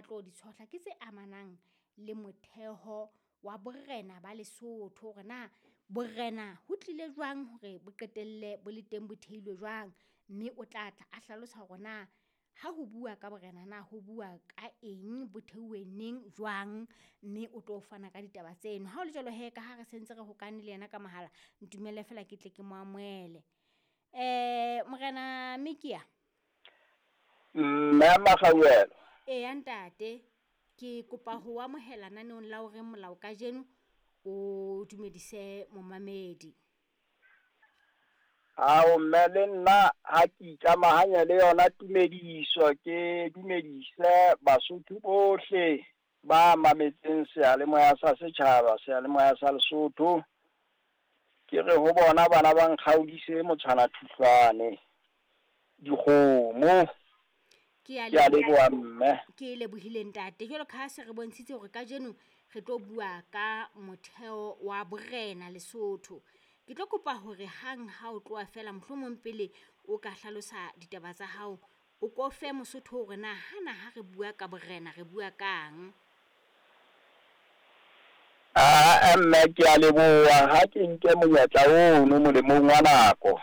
tlo di tshohla ke tse amanang le motheho wa borena ba Lesotho. Hore na borena ho tlile jwang hore bo qetelle bo le teng, bo theilwe jwang. Mme o tla tla a hlalosa hore na ha ho bua ka borena na ho bua ka eng, bo theuwe neng, jwang. Mme o tlo fana ka ditaba tseno. Ha o le jwalo hee ka ha re sentse re hokane le yena ka mohala, ntumelle feela ke tle ke mo amohele. Morena Mikia. Mme Makgauela. Eya ntate, ke kopa ho amohela naneong la O Reng Molao kajeno, o dumedise momamedi. Ao mme le nna ha ke ikamahanya le yona tumediso, ke dumedise Basotho bohle ba mametseng seyalemoya sa setjhaba, seyalemoya sa Lesotho. Ke re ho bona bana ba nkgaodise motshwana thuhlwane, dikgomo. Ke a Ke a leboha mme. Ke lebohile ntate. Jwalo ka ha se re bontshitse hore kajeno re tlo bua ka motheo wa borena Lesotho. Ke tlo kopa hore hang ha o tloha feela mohlomong pele o ka hlalosa ditaba tsa hao, o ko fe Mosotho hore na hana ha re bua ka borena re bua kang. Aa mme ke a leboha ha ke nke monyetla ono molemong wa nako.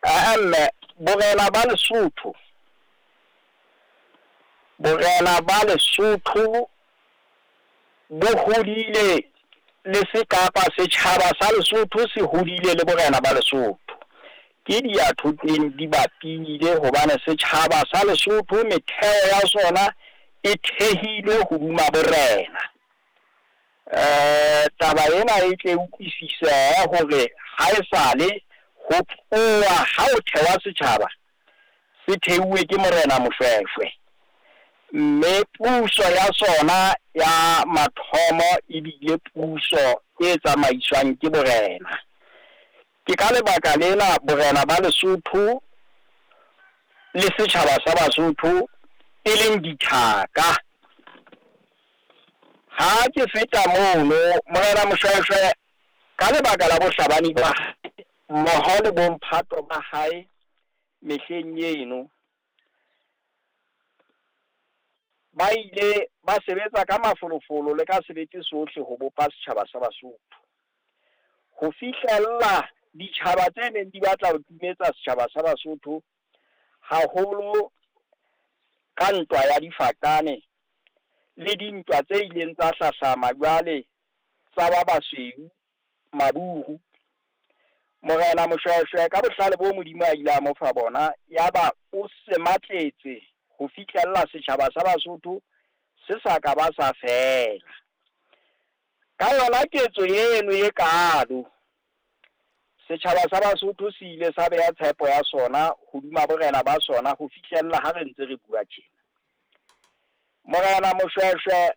Aa mme, borena ba Lesotho, borena ba Lesotho bo hodile le sekapa, setjhaba sa Lesotho se hodile le borena ba Lesotho. Ke diyathoteng di bapile hobane setjhaba sa Lesotho metheo ya sona e thehilwe hodima borena. Taba ena e tle utlwisisehe hore ha esale ho tloha ha o thewa setjhaba se theuwe ke Morena Moshweshwe, mme puso ya sona ya mathomo ebile puso e tsamaiswang ke borena. Ke ka lebaka lena borena ba Lesotho le setjhaba sa Basotho e leng dithaka. Ha ke feta mono, Morena Moshweshwe ka lebaka la bohlabani ba hae mmoho le bomphato ba hae mehleng eno, ba ile ba sebetsa ka mafolofolo le ka sebete sohle ho bopa setjhaba sa Basotho. Ho fihlella ditjhaba tse neng di batla ho timetsa setjhaba sa Basotho haholo ka ntwa ya difaqane le dintwa tse ileng tsa hlahlama jwale tsa ba basweu maburu. Morena Moshweshwe ka bohlale bo Modimo a ile a mo fa bona, yaba o sematletse ho fihlella setjhaba sa Basotho se sa ka ba sa fela. Ka yona ketso eno e kalo, setjhaba sa Basotho se ile sa beha tshepo ya sona hodima borena ba sona ho fihlella ha re ntse re bua tjena. Morena Moshweshwe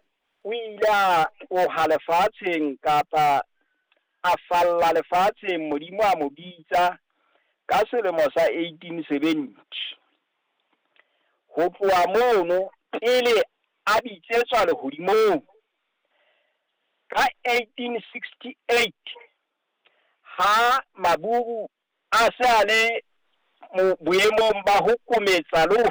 o ile a tloha lefatsheng kapa a falla lefatsheng, Modimo a mo bitsa ka selemo sa 1870. Ho tloha mono pele a bitsetswa lehodimong ka 1868, ha maburu a se a le boemong ba ho kometsa le ho